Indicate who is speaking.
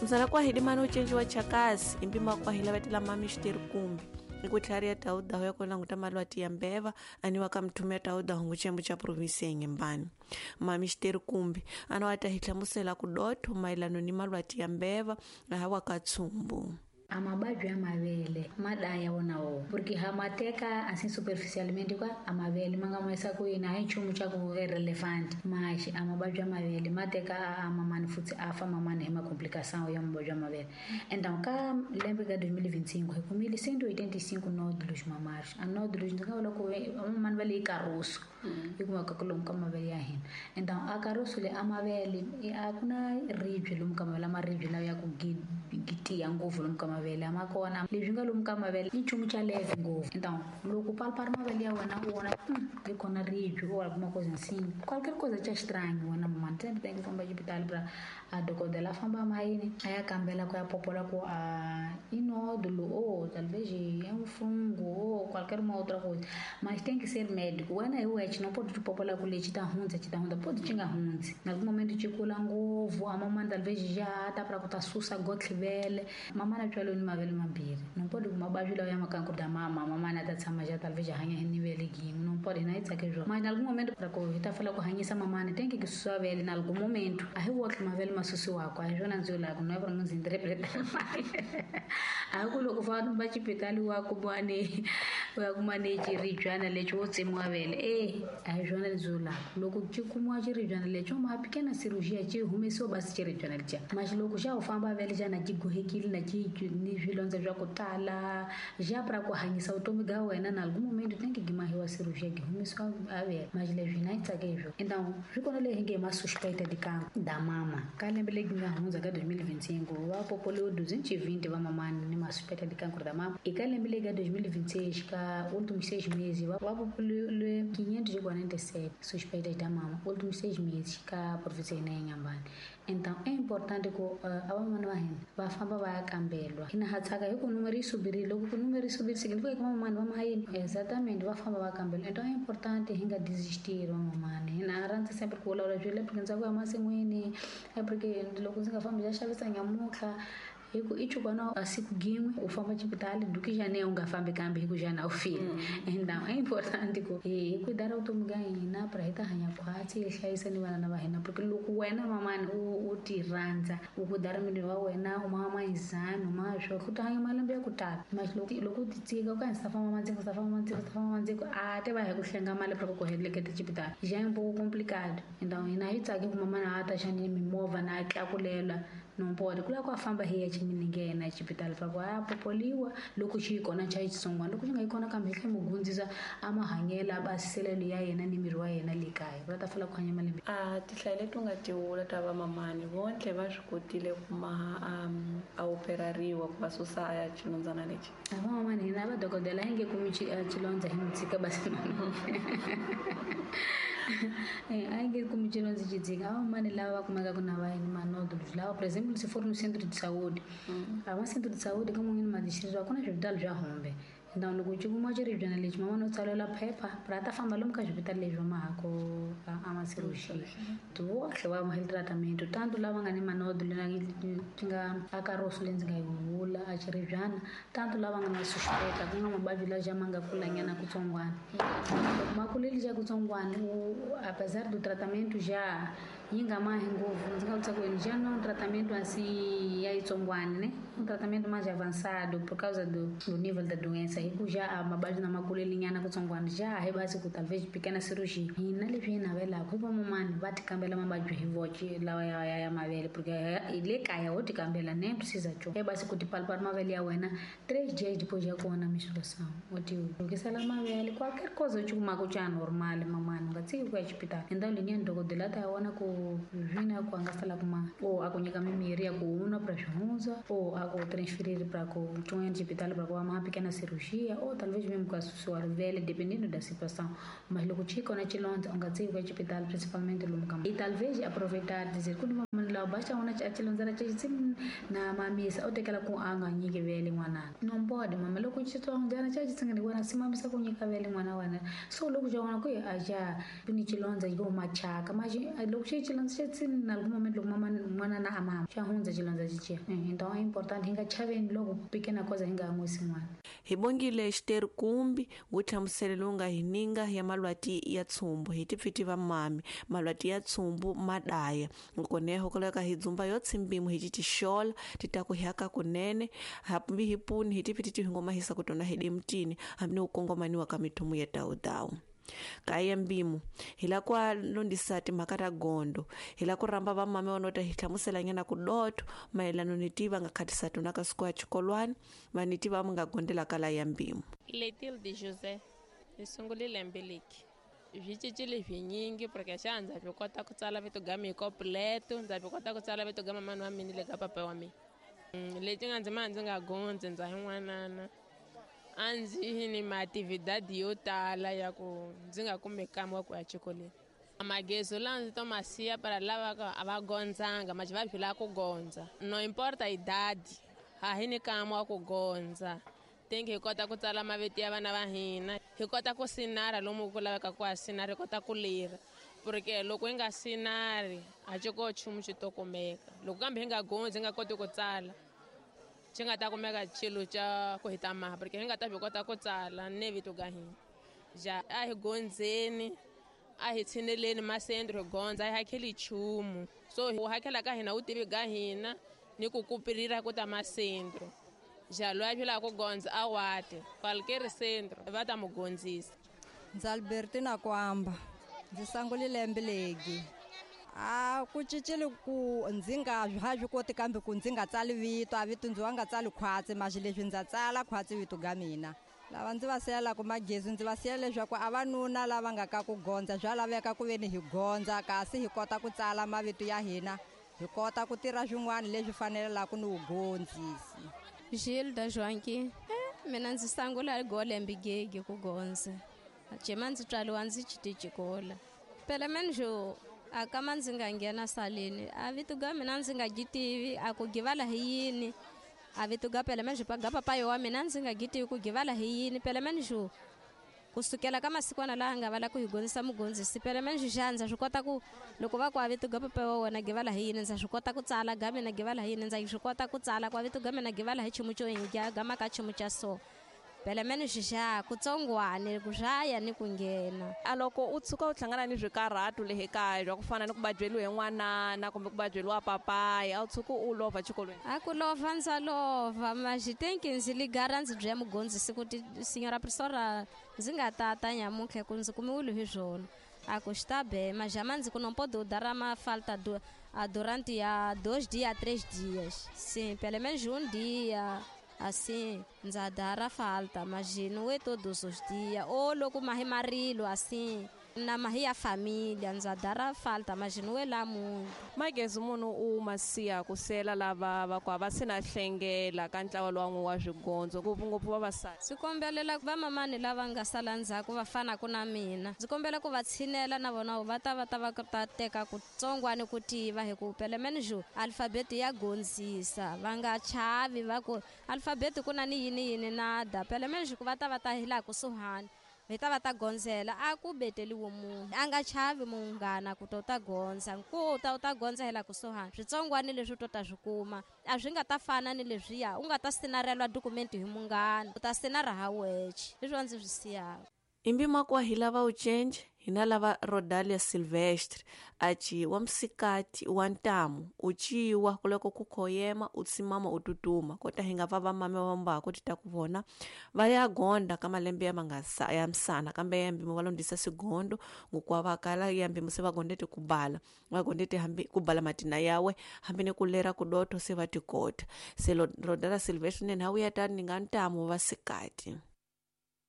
Speaker 1: Msana kwahidi mani ucenji wa chakasi impima kwahila vetela mami xiteri kumbi ikutlhariya taudaho ya kulanguta malwati ya mbeva aniwa ka mthumia taudaho nguchembu cha provinsi ya Inhambane. Mami xiteri kumbi ana wa ta hi hlamusela kudotho mayelano ni malwati ya mbeva ahawa ka tsumbu.
Speaker 2: Amabadyo ya mavele madaya wona wo porque hamateka assim superficialmente kwa amavele manga maisa ku yini a hi nchumu xa ku irrelevant mas amabadyo ya mavele mateka amamani futhi afa mamani hi macomplicação ya mabadyo ya mavele. Então ka lembe ka 2025 hi kumile 185 nódulos mamários. A nódulos ndzi nga vula ku vamamani va le caroço yi kumeka ku lomu ka mavele ya hina. Então a caroço le a mavele a ku na ribye lomu ka mavele, maribye lawa ya ku gitiya ngopfu lomu ka mavele ma kona. Leswi nga lomu ka mavele i nchumu xa leve ngopfu. Então loko palpar mavele ya wena u vona li kona ribye ou alguma coisa assim, qualquer coisa xa estranho wena mamani sempre tem que famba xipitali pra a dokodela a famba mayini a ya kambela ku ya popola ku a i nódulo ou talvez é um fungo ou qualquer uma outra coisa, mas tem que ser médico. Wena hi wexe não pode popola ku lexi ta hundza xi ta hundza, pode xi nga hundzi. Na algum momento xi kula ngopfu a mamani talvez já ta pra ku ta susa gotlhivele. Mamani a tswale ni mavele mambirhi, não pode ku mabadyo lawa ya makanku da mama mamani a ta tshama já talvez hanya hi nivele yin'we, não pode na yi tsake swona. Mas na algum momento pra ku hi ta fela ku hanyisa mamani tem que susiwa vele na algum momento. A hi wotlhe mavele ma susiwaka, a hi swona ndzi vulaka, no pra ndzi interpreta a hi ku loko famba xipitali wa kuma ni u ya kuma ni xiribyana lexi wo tsemiwa vele, a hi swona leswi vulaka. Loko xi kumiwa xiribyana lexi ma pequena cirurgia xi humesiwa basi xiribyana lexiya. Mas loko xa u famba vele xana xi gohekile na xi ni swilondza swa ku tala xa pra ku hanyisa vutomi bya wena, na algum momento tem que gimahiwa cirurgia gi humesiwa a vele. Mas leswi hina hi tsake hi swona. Então swi kona leyi hi nge ma suspeita de cancro da mama ka lembe leri nga hundza ka 2025 va popoliwe 220 va mamani ni ma suspeita de cancro da mama. E ka lembe leri ka 2026 ka últimos 6 meses va popoliwe 547 suspeitas da mama últimos 6 meses ka província ya Inhambane. Então é importante ku a vamani va hina va famba va ya kambelwa. Hina ha tsaka hi ku numero yi subirile, loko ku numero yi subirile significa ku vamamani va mahayini exatamente va famba va kambelwa. Então é importante hi nga desistir vamamani. Hina a rhandza sempre ku vulavula swilo porque ndzi ku ya masin'wini, porque loko ndzi nga fambi ndzi ya xavisa nyamutlha hi ku i chukwana a siku gin'we u famba xipitali duki xane u nga fambi kambe hi ku xana u file. Então é importante ku hi cuidar vutomi bya hina pra hi ta hanya khwatsi hi hlayisa ni vana va hina, porque loko wena mamani u ti rhandza u cuidar miri wa wena u ma mayizani u ma swo ku ta hanya malembe ya ku tala. Mas loko u ti tshika u ka ndzi ta famba mandziko, ta famba mandziko, ta famba mandziko a te va hi ku hlenga mali pra ku heleketa xipitali já é um pouco complicado. Então hina hi tsaki ku mamani a ta xani mimovha na tlakulela não pode ku lava ku a famba hi ya ximinenge ya yena exipitali pra ku a popoliwa loko xi yi kona xa xitsongwana, loko xi nga yi kona kambe hi tlhe mu gundzisa a mahanyelo a basiselelo ya yena ni miri wa yena le kaya va ta fela ku hanya malembe.
Speaker 1: A tinhlayo leti u nga ti vula ta vamamani vontle va swi kotile ku ma a operariwa ku va susa a xilondzana lexi.
Speaker 2: A vamamani hina va dokodela hi nge kumi xilondza hi n'wi tshika basi a yi nge kumi xilondza xi tshika. A vamamani lava va kumekaka na va yini manódulos lava, por exemplo, se for no centro de saúde, a va centro de saúde ka mun'wini madistrito a ku na swipitali swa hombe. Então loko xi kumiwa xiribyana lexi mamani u tsalela phepha pra ta famba lomu ka swipitali leswi va mahako a ma cirurgia vohle va mahile tratamento tanto lava nga ni manódulo na ti nga a caroço leyi ndzi nga yi vula a xiribyana, tanto lava nga na suspecta ku nga mavabyi lawa ma nga kulanyana kutsongwana. Loko ma kulile xa kutsongwana apesar do tratamento já yi nga mahi ngopfu, ndzi nga vutisa ku yini já não tratamento assim ya yitsongwana né, um tratamento mais avançado por causa do nível da doença hi ku já a mavabyi na makulelinyana kutsongwana já hi basi ku talvez pequena cirurgia. Hina leswi hi navelaka hi vamamani va ti kambela mavabyi hi voxe lawa ya mavele, porque le kaya wo ti kambela nem precisa cho hi basi ku ti palpar mavele ya wena 3 dias depois ya kona menstruação u ti lukisela mavele qualquer coisa u xi kumaka xa normal mamani u nga tshiki ku ya xipitali. Então linyani dokodela ta ya vona ku zvina ku a nga sala kuma ou a ku nyika mimirhi ya ku nwa pra swi hundza ou a ku transferir pra ku xin'wanyana xipitali pra ku va ma pequena cirurgia ou talvez mesmo ku a susiwa rivele dependendo da situação. Mas loko xi kona xilondza u nga tshiki ku ya xipitali principalmente lomu ka e talvez aproveitar dizer ku ni mamani lawa ba xa vona a xilondzana xa xi na mamisa u tekela ku a nga nyiki vele n'wana. Não pode mama, loko xitsondzana xa xitsongwana wena si mamisa ku nyika vele n'wana wena, so loko xa vona ku a xa ni xilondza xi huma thyaka mas loko xi Xilondza xa tsini na loko moment loko mama n'wana na amama xa hundza xilondza xixiya. Então é importante hi nga chaveni loko pequena coisa hi nga an'wisi n'wana.
Speaker 1: Hi bongile xiteri kumbi ngu hlamuselo lowu nga hi ninga ya malwati ya tsumbu hi tipfiti va mami malwati ya tsumbu madaya nkoneho koleka hi dzumba yo tsimbimo hi titixola titaku hyaka kunene hambi hi puni hi tipfiti ti hingoma hisa kutona hi demtini hambi ni ukongomaniwa ka mithumu ya dawudawu kaya mbimo hi la ku londisa timhaka ta gondo hi la ku rhamba vamame vanota hi hlamuselanyana ku doto mayelano ni tiva nga khatisa tona ka siku ya xikolwani va ni tiva mi nga gondela kala ya mbimo.
Speaker 3: Letilde José hi sungule lembe leki swi cincile swinyingi porque xa ndza swi kota ku tsala vito ga mi completo, ndza swi kota ku tsala vito ga mamani wa mina le ka papa wa mina. Leti nga ndzi ma ndzi nga gondzi ndza hi n'wanana a ndzi ni maatividadi yo tala ya ku ndzi nga kumi kamwe ku ya xikolweni. Magezo lawa ndzi to ma siya para lava a va gondzanga ma va phila ku gondza no importa idadi a hi ni kamwe ku gondza tingi hi kota ku tsala mavito ya vana va hina hi kota ku sinara lomu ku laveka ku a sinara hi kota ku lira porque loko hi nga sinari a xi ko nchumu xi to kumeka loko kambe hi nga gondzi hi nga koti ku tsala xi nga ta kumeka xilo xa ku hi ta maha porque hi nga ta swi kota ku tsala ne vito ga hina ja a hi gondzeni a hi tshineleni masendro hi gondza a hi hakheli nchumu so wu hakhela ka hina wu tivi ga hina ni ku kupirira ku ta masendro ja loyi a philaka ku gondza a wate qualquer centro va ta mu gondzisa.
Speaker 4: Ndzi Albertina Kwamba ndzi sungule lembe legi a ku cincile ku ndzi nga ha swi koti kambe ku ndzi nga tsali vito a vito ndzi wa nga tsali khwatsi maxi leswi ndza tsala khwatsi vito ga mina lava ndzi va siyelaka magezi ndzi va siyela leswaku a vanuna lava nga ka ku gondza swa laveka ku veni hi gondza kasi hi kota ku tsala mavito ya hina hi kota ku tirha swin'wana leswi fanelaka ni vugondzisi.
Speaker 5: Gilda Joanqui mina ndzi sungula golembe gege ku gondza jema ndzi tswaliwa ndzi chitijikola phela manjo a kama ndzi nga nghena saleni a vito ga mina ndzi nga gitivi a ku givala hi yini a vito ga phela manjo ga papayo wa mina ndzi nga gitivi ku givala hi yini phela manjo kusukela ka masikwana laha nga vala ku hi gondzisa mugondzisi phela manjo xa ndza swi kota ku loko va ku a vito ga papa wa wena givala hi yini ndza swi kota ku tsala ga mina givala hi yini ndza swi kota ku tsala kwa vito ga mina givala hi chumu xo hi ga maka chumu xa so phela mani xixa kutsongwane ku swaya ni ku nghena.
Speaker 1: A loko u tshuka u hlangana ni swikarhatu le ekaya bya ku fana ni ku badyeliwa hi n'wanana kumbe ku badyeliwa papaya a wu tshuki u lova xikolweni?
Speaker 5: A ku lova ndza lova maxitenki ndzi ligara ndzi bya mugondzisi ku ti signora professora ndzi nga tata nyamuntlha ku ndzi kumiwile hi swona a ku xi ta be majama ndzi ku não pode dar uma falta durante a 2 dias 3 dias sim pelo menos um dia assim ndza dara falta mas não é todos os dias ou loko mahi marilo assim na mahi ya família ndza dara falta mas não é lá muito.
Speaker 1: Magezi munhu u masiya ku sela lava va ku va sina hlengela ka ntlawa lowu wa swigondzo ngopfungopfu vavasati.
Speaker 5: Ndzi kombelela vamamani lava nga sala ndzhaku va fanaka na mina ndzi kombela ku va tshinela na vona va ta va ta va ta teka kutsongwani ku tiva hi ku phela menjo alfabeti ya gondzisa va nga chavi va ku alfabeti ku na ni yini yini nada phela menjo ku va ta va ta hi laha kusuhani hi ta va ta gondzela a ku beteliwe munhu a nga chavi munghana ku ta u ta gondza ku ta u ta gondza hi laha kusuhani switsongwani leswi u to ta swi kuma a swi nga ta fana ni leswiya u nga ta sinarelwa dokumenti hi munghana u ta sinara ha weche leswi ndzi swi siyaka.
Speaker 1: Imbimakwa hi lava u change hina lava Rodalia Silvestre aci wa msikati wa ntamu uciwa kuloko ku khoyema u tsimama u tutuma kota hi nga va vamame va mbako ti ta ku vona va ya gonda ka malembe ya mangasa ya msana kambe ya mbimo va londisa sigondo ngokwa va kala ya mbimo se va gondete ku bala va gondete hambi ku bala matina yawe hambi ne ku lera ku doto se va tikota se Rodalia Silvestre ne hawu ya tani nga ntamu wa sikati.